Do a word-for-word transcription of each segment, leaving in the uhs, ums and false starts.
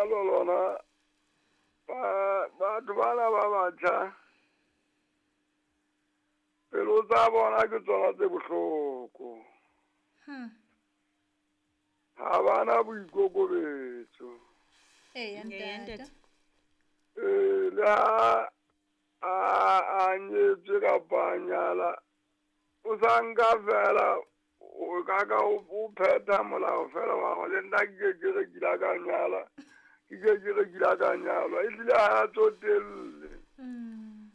lenyalo lona ba batho bana ba batjha pelo tsa bona ke tsona tse bohloko. Hmm. Ha bana boikokobetso. Eya ntate. Eh le ha a a nyetswe kapa a nyala o sa nka fela o ka ka o phetha molao fela wa go le nna ke ke re ke la ka nyala ke ke ke re ke la ka nyalwa ehlile ha a tsotelle. Mm.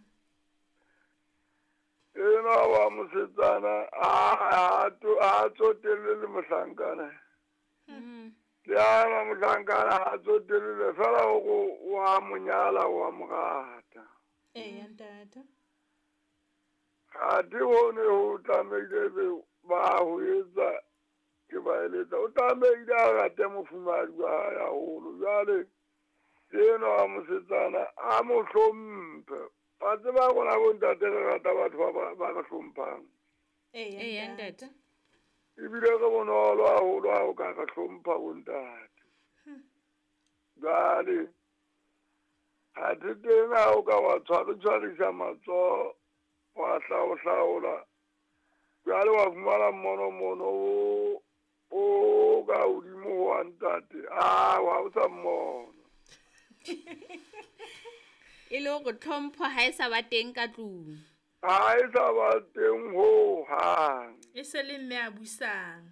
Ena wa mosetsana a a to a tsotelle le mohlankana. Mm. Le ana mohlankana ha tsotelle fela o wa monyala wa morata. Eya ntate. Ha di ho ne ho tlamehile be ba ho etsa ke ba eletsa o tlamehile a rate mofumahadi wa hae haholo. Jwale ena wa mosetsana a mo hlomphe. Ba tseba rona bontate re rata batho ba ba ba re hlomphang. Eya Eya ntate. ntate. Ebile re bonolo haholo ha o ka re hlompha bontate. Jwale ha te teng ha o ka wa tshware tshwarisa matsoho wa hlaohlaola jwale wa fumana mmono mono o o ka hodimo wa ntate a wa o sa mmona. E le hore tlhompho ha e sa ba teng ka tlung. Ha e sa ba teng ho hang. E se le mme a busang.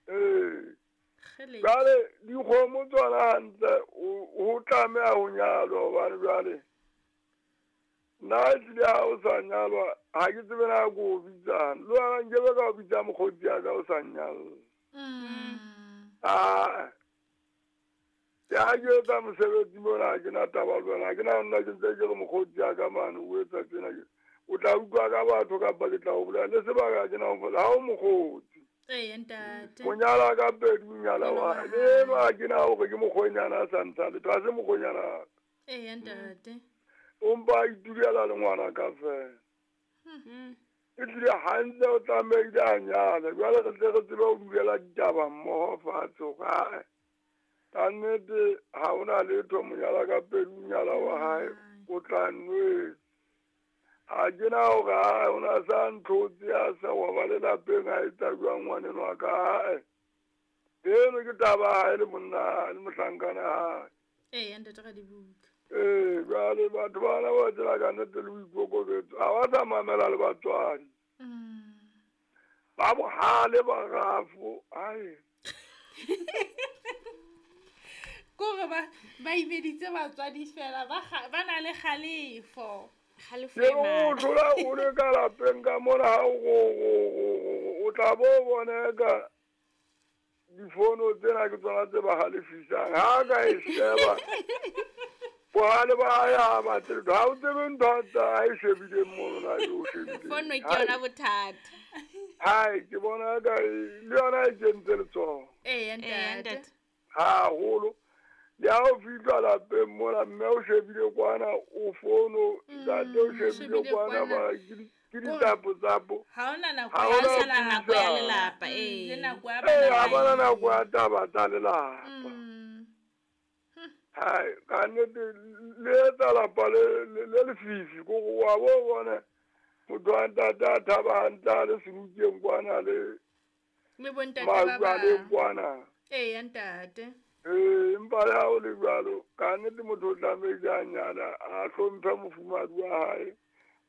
Ee. Kgele. Jwale dikgomo tsona hantle o ho tlameha ho nyalwa hobane jwale nna ehlile ha o sa nyalwa ha ke tsebe na ko o bitsang. Le wena nkebe ka o bitsa mokgotsi ya ka o sa nyalla. Mm. Ah. Ya ke etsa mosebetsi mona ha ke na taba le wena. Ha ke na nna ke ntse ke re mokgotsi ya ka mane o etsa tjena ke. O tla utlwa ka batho kapa ke tla o bolella le sebaka ha ke na ho fola. Ha o mokgotsi. Eya ntate. Monyala ka pedi o nyala wa hae. Le enwa ha ke na hore ke mokgwenyana a sa ntsha letho. Ha se mokgwenyana wa ka. Eya ntate. O mpa a itulela le ngwana ka fela. Mm. Ehlile hantle o tlamehile a nyale. Jwale re tle re tsebe ho dulela ditaba mmoho fatshe hore ae ka nnete ha hona letho monyala ka pedi o nyala wa hae o tla nwetsa. Ha ke na hore ae o na sa ntlhotse a sa wa ba lelapeng a etsa jwang ngwaneno wa ka ae. Eno ke taba ya hae le monna le mohlankana hae. Eya ntate Radibuka. Ee, jwale batho bana ba tsela ka nnete le boikokobetso ha ba sa mamela le batswadi. Mm. Ba bohale ba rafo ae. Kore ba ba imeditse batswadi fela ba kga- ba na le kgalefo. Kgalefo Ke e o matla. thola o le ka lapeng ka mona ha o go- go- go- go- o tla bo bona ka difono tsena ke tsona tse ba halefisang. Ha ka e sheba bohale ba hae ha batle letho. Ha o tsebe ntho a tsa a e shebileng mono na e o shebileng. Fono ke Hai. yona bothata. Hai, ke bona ka e- le yona e kentse letsoho Eya Eya ntate. ntate. haholo. Le ha o fihla lapeng mona mme o shebile kwana o fono ntate o Mm, shebile shebile kwana kwana. ba ke di- ke Kore ditsapo-tsapo. ha hona nako Ha ya Ha hona o sa na nako ya puisano. lelapa Mm, le ee. nako ya Ee, bana ha ba bana nako ya e. taba tsa lelapa. Mm. Hai, ka nnete le etsa lapa le le le lefifi ko go wa bo bona motho wa ntate a thaba hantle a le senukeng kwana le Le bontate ba maru a le bang. kwana. Eya ntate. Ee, empa le ha o le jwalo ka nnete motho o tlamehile a nyala a hlomphe mofumahadi wa hae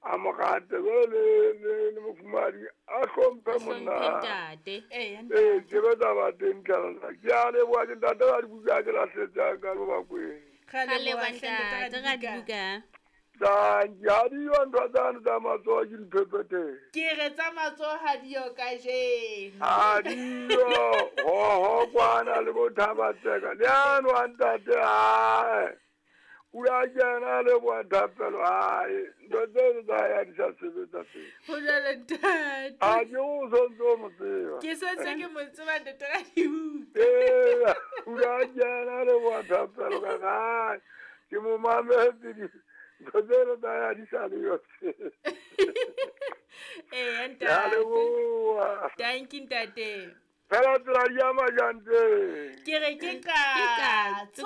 a mo rate jwale le le le mofumahadi a hlomphe A monna hlomphe hae. ntate. Eya Ee, ntate. ke be taba teng tlala. Ke a leboha ke ntate wa dibuka ke lahletse a ka Bakweng. Ra Ra leboha leboha hle ntate ntate Radibuka. Radibuka. Tanki ha diyo ntho tsane tsa matsoho ke diphepheteng. Ke re tsa matsoho ha diyo kajeno. Ha diyo hoho kwana le bo Thabatseka. Le ano a ntate ae. O a kena le bo Thapelo ae. Ntho tseno tsa hae ha di sa sebetsa teng. Ho jwalo ntate. A ke o sontso o mo tseba. Ke sentse ke mo tseba ntate Radibuka. Ee, o a kena le bo Thapelo ka gae. Ke mo mametse di ntho tseno tsa hae ha di sa le yo. Eya Ke a ntate. leboha. Tanki ntate. Fela tsela di ama jang teng? Ke re ke Ke katso.